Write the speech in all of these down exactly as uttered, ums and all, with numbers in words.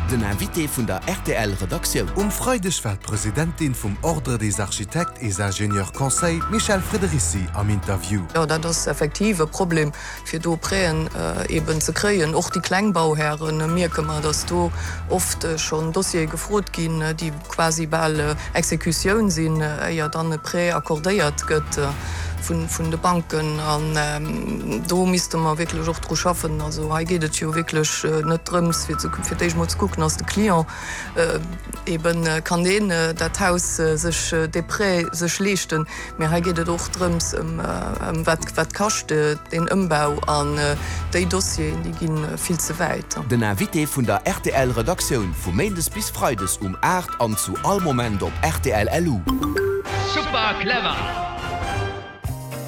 Den Invité vun der R T L Redaktioun. Um Freideg war d'Presidentin vum Ordre des architectes et ingénieurs conseils Michèle Friederici am Interview. Jo, dat ass effektiv e Problem fir do Prêten äh, eben ze kréien. Och déi kleng Bauhären mierke mer, dass do oft äh, schonn Dossiere gefrot ginn, äh, déi quasi bal äh, Exekutioun sinn, äh, éier dann e Prêt accordéiert gëtt äh, vun, vun de Banken an ähm, do misste mer wierklech och dru schaffen. Also hei geet et jo wierklech äh, net drëms fir ze fir d'éischt mol ze kucken ass de Client äh, eben äh, kann deen äh, dat Haus äh, sech äh, de Prêt sech leeschten. Mee hei geet et och drëms ëm, äh, ëm wat, wat kascht äh, den Ëmbau an äh, déi Dossieren déi ginn äh, vill ze wäit. Den Invité vun der R T L Redaktioun vu Méindes bis Freides um aacht an zu all Moment op R T L L U. Super clever!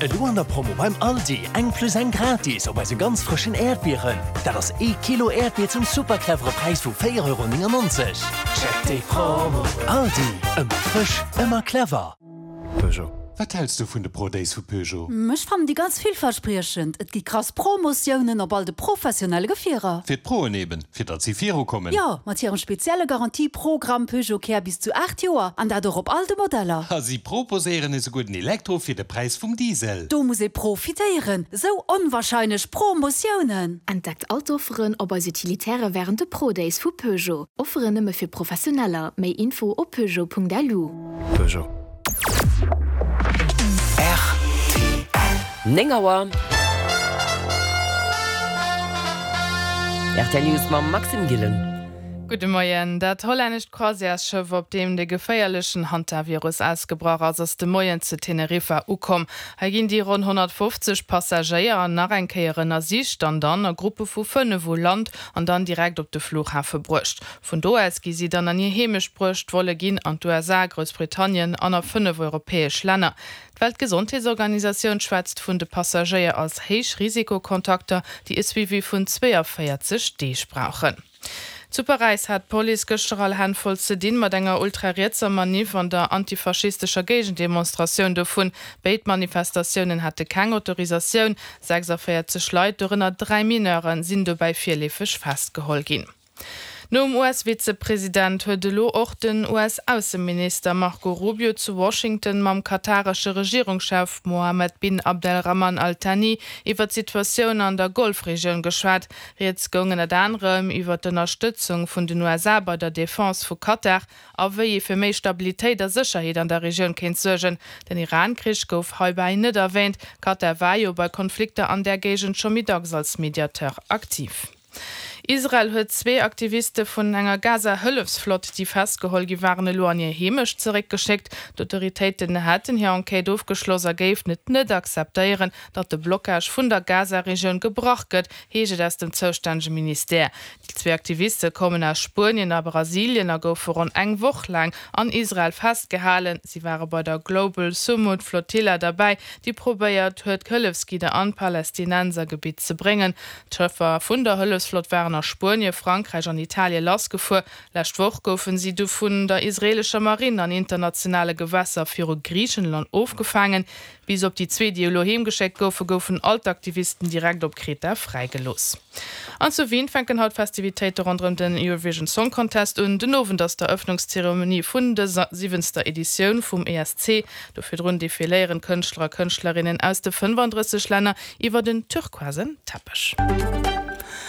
Elo an der Promo beim Aldi eng plus eng gratis op eise ganz frëschen Äerdbieren. Dat ass ee Kilo Äerdbier zum super clevere Präis vu véier Euro néngennonzeg. Check déi Promo. Aldi, ëmmer frësch, ëmmer clever. Peugeot. Wat häls du vun de Pro Days vu Peugeot? Ech fannen déi ganz villverspriechend. Et gi krass Promotiounen op all de professionelle Gefierer. Fir d'Proen eben, fir datt si virukommen. Jo, mat hirem spezielle Garantieprogramm Peugeot Care bis zu aacht Joer an dat och op all de Modeller. A si proposéieren esouguer den Elektro fir de Präis vum Diesel. Do muss ee profitéieren. Sou onwahrscheinlech Promotiounen. Entdeckt all d'Offeren op eis Utilitäre wärend de Pro Days vu Peugeot. Offeren nëmme fir Professioneller. Méi Info op peugeot Punkt L U. Peugeot. néng Auer. R T L News mam Maxime Gillen. Gudde Moien. Dat hollännescht Croisièresschëff, op deem de geféierlechen Hantavirus ausgebrach ass, ass de Moien zu Teneriffa ukomm. Hei ginn déi ronn honnertfofzeg Passagéier nach eng Kéier ënnersicht an dann a Gruppe vu fënnef u Land an dann direkt op de Flughafe bruecht. Vun do aus gi si dann an hir Heemecht bruecht. D'Volle ginn an d'U S A, Groussbritannien an a fënnef europäesch Länner. D'Weltgesondheetsorganisatioun schwätzt vun de Passagéier als Héichrisikokontakter, déi e Suivi vun zwéianvéierzeg Deeg brauchen. Zu Paräis hat d'Police gëschter all Hänn voll ze dinn mat enger ultrarietser Manif an der antifaschistescher Géigendemonstratioun dovun. Béid Manifestatiounen hate keng Autorisatioun. sechsanvéierzeg Leit, dorënner dräi Mineuren, sinn dobäi virleefeg festgeholl ginn. Nom U S-Vizepresident huet elo och den U S-Ausseminister Marco Rubio zu Washington mam kataresche Regierungschef Mohammed bin Abdelrahman Al-Thani iwwer d'Situatioun an der Golfregioun geschwat. Rieds goung ënnert anerem iwwer d'Ënnerstëtzung vun den U S A bei der Defense vu Katar a wéi ee fir méi Stabilitéit a Sécherheet an der Regioun kéint suergen. Den Iran-Krich gouf heibäi net erwäänt. Katar war jo bei Konflikter an der Géigend scho méi dacks als Mediateur aktiv. Israel huet zwee Aktiviste vun enger Gaza-Hëllefsflott, déi festgeholl gi waren, elo an hir Heemecht zeréckgeschéckt. D'Autoritéiten hätten hir Enquête ofgeschloss a géifen et net akzeptéieren, datt de Blockage vun der Gaza-Regioun gebrach gëtt, heescht et aus dem zoustännege Ministère. Déi zwee Aktiviste kommen aus Spuenien a Brasilien a goufe ronn eng Woch laang an Israel festgehalen. Si ware bei der Global Sumud Flotilla derbäi, déi probéiert huet, Hëllefsgidder an d'Palästinensergebitt ze bréngen. D'Schëffer vun der Hëllefsflott waren a Spuenie, Frankräich an Italie lassgefuer. Lescht Woch goufen si du vun der israeelescher Marinn an internationale Gewässer viru Griichenland ofgefaangen. Bis op déi zwee, déi elo heemgeschéckt goufen, goufen all d'Aktivisten direkt op Kreta fräigelooss. An zu Wien fänken haut d'Festivitéite ronderëm den Eurovision Song Contest un. Den Owend ass d'Eröffnungszeremonie vun der siwwenzter Editioun vum E S C. Do virdrun defiléieren Kënschtler a Kënschtlerinnen aus de fënnefandrësseg Länner iwwer den turquoisen Teppech.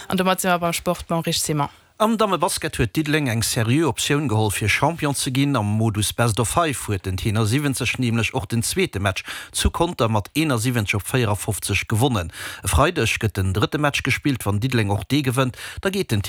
An domat si mer beim Sport mam Rich Simon. Am Dammebasket huet Diddeleng eng seriö Optioun geholl fir Champion ze ginn. Am Modus Best of Five huet den Tenor siwwenzeg nämlech och den zweete Match zu Conter mat eenasiwwenzeg op véierafofzeg gewonnen. E Freideg gëtt den drëtte Match gespillt. Wann Diddeleng och dee gewënnt, da geet den